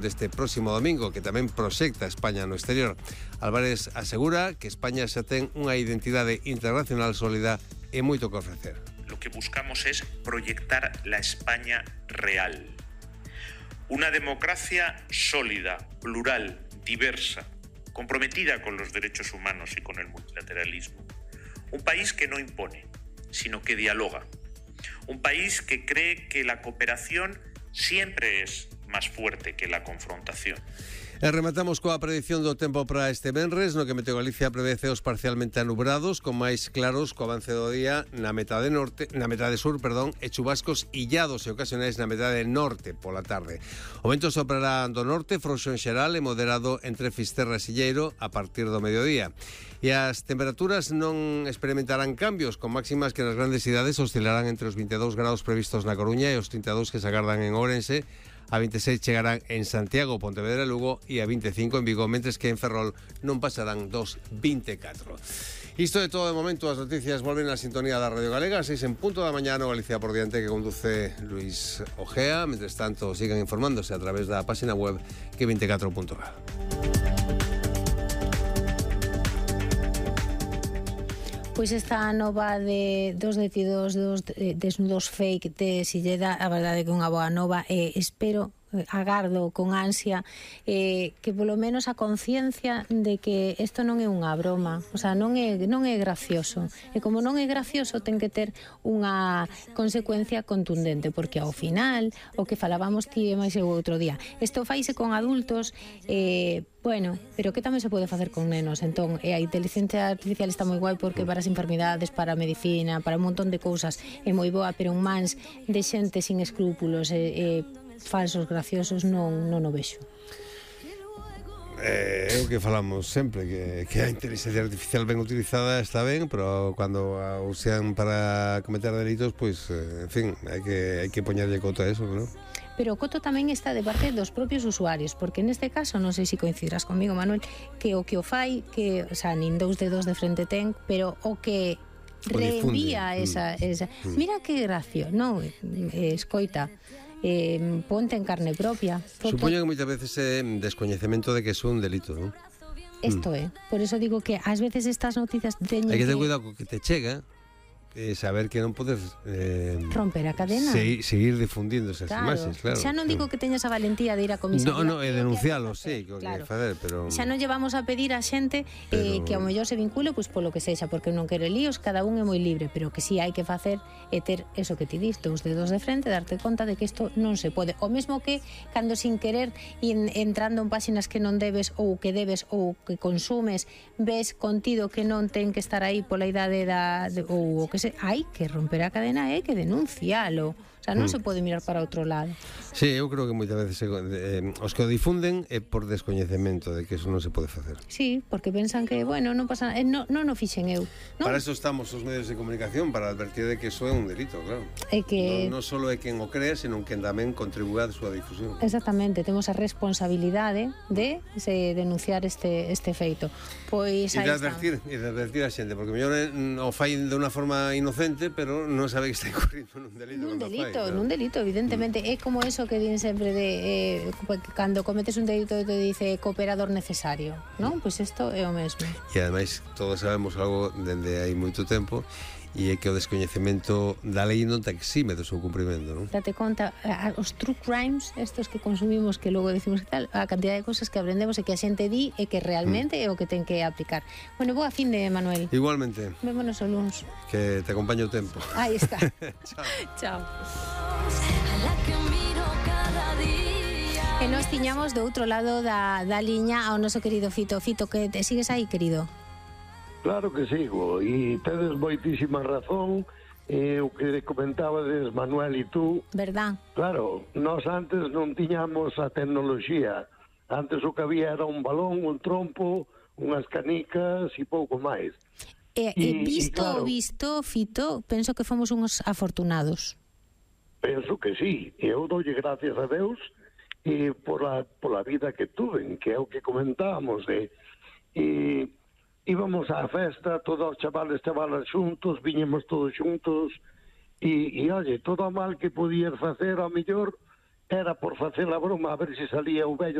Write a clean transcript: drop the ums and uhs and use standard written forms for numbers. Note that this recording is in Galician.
deste próximo domingo, que tamén proxecta España no exterior. Álvarez asegura que España xa ten unha identidade internacional sólida e moito que ofrecer. Lo que buscamos es proyectar la España real. Una democracia sólida, plural, diversa, comprometida con los derechos humanos y con el multilateralismo. Un país que no impone, sino que dialoga. Un país que cree que la cooperación siempre es más fuerte que la confrontación. E rematamos coa predición do tempo para este venres, no que Meteogalicia prevé ceos parcialmente anubrados, con máis claros co avance do día na metade sur, e chubascos illados e ocasionais na metade norte pola tarde. O vento soprará do norte, frouxo en xeral e moderado entre Fisterra e Silleiro a partir do mediodía. E as temperaturas non experimentarán cambios, con máximas que nas grandes cidades oscilarán entre os 22 graus previstos na Coruña e os 32 que se agardan en Ourense. A 26 chegarán en Santiago, Pontevedra e Lugo e a 25 en Vigo, mentres que en Ferrol non pasarán dos 24. Isto é todo de momento, as noticias volven á sintonía da Radio Galega, 6 en punto da mañá no Galicia por diante, que conduce Luis Ojea. Mentres tanto, sigan informándose a través da página web que24.gal. Pois esta nova dos detidos dos desnudos fake de Silleda, a verdade que é unha boa nova, e espero, agardo con ansia que polo menos a conciencia de que isto non é unha broma, o sea, non é gracioso, e como non é gracioso ten que ter unha consecuencia contundente, porque ao final o que falábamos ti e máis o outro día, isto faise con adultos, bueno, pero que tamén se pode facer con nenos. Entón, a inteligencia artificial está moi guai porque para as enfermidades, para a medicina, para un montón de cousas é moi boa, pero un mans de xente sin escrúpulos falsos, graciosos, non o vexo. É o que falamos sempre, que a inteligencia artificial ben utilizada está ben, pero cando a usan para cometer delitos, pois, en fin, hai que poñerlle coto a eso, non? Pero o coto tamén está de parte dos propios usuarios, porque neste caso, non sei se coincidirás comigo, Manuel, que o que o fai, que, o sea, nin dous dedos de frente ten, pero o que reenvía esa mira que gracio, non, escoita, ponte en carne propia. Supoño que moitas veces é descoñecemento de que é un delito, non? Isto é, por eso digo que ás veces estas noticias teñen hai que ter cuidado co que te chega, saber que non podes romper a cadena, seguir difundindo esas imaxes, claro. Xa non digo que teñas a valentía de ir a comisaría, no, e denuncialo, sí, que claro. Facer, pero xa non llevamos a pedir a xente que ao mellor se vincule pois polo que sexa, porque non quere líos, cada un é moi libre, pero que si hai que facer é ter eso que ti diste, os dedos de frente, darte conta de que isto non se pode, o mesmo que cando sin querer entrando en páxinas que non debes ou que debes ou que consumes, ves contido que non ten que estar aí pola idade ou o que hai que romper a cadena e que denuncialo. O sea, non se pode mirar para outro lado. Sí, eu creo que moitas veces os que o difunden é por descoñecemento de que eso non se pode facer. Sí, porque pensan que, bueno, non pasa nada, non o fixen eu, non? Para eso estamos os medios de comunicación, para advertir de que eso é un delito, claro. É que non só é quen o crea, senón quen tamén contribúa a súa difusión. Exactamente, temos a responsabilidade de denunciar este feito. Pois aí está. E de advertir a xente, porque mellor o fai de unha forma inocente, pero non sabe que está incurrindo nun delito, evidentemente. É como eso que din sempre de cando cometes un delito te dice cooperador necesario, non? Pois isto é o mesmo. E ademais todos sabemos algo dende hai moito tempo, e é que o descoñecemento da lei non te exime do seu cumprimento, non? Date conta, os true crimes, estos que consumimos, que logo decimos que tal, a cantidad de cosas que aprendemos e que a xente di e que realmente é o que ten que aplicar. Bueno, boa fin de Manuel. Igualmente. Vémonos o luns. Que te acompañe o tempo. Aí está. Chao. Chao. E nos tiñamos do outro lado da liña ao noso querido Fito. Fito, que te sigues aí, querido? Claro que sigo, e tedes moitísima razón, o que comentabades Manuel e tú. Verdad? Claro, nós antes non tiñamos a tecnoloxía, antes o que había era un balón, un trompo, unhas canicas e pouco máis. Visto, Fito, penso que fomos uns afortunados. Penso que sí, e eu doulle gracias a Deus pola vida que tuven, que é o que comentábamos, íbamos á festa, todos os chavales xuntos, viñemos todos xuntos, e oye, todo o mal que podías facer, ao mellor, era por facer a broma a ver se salía o vello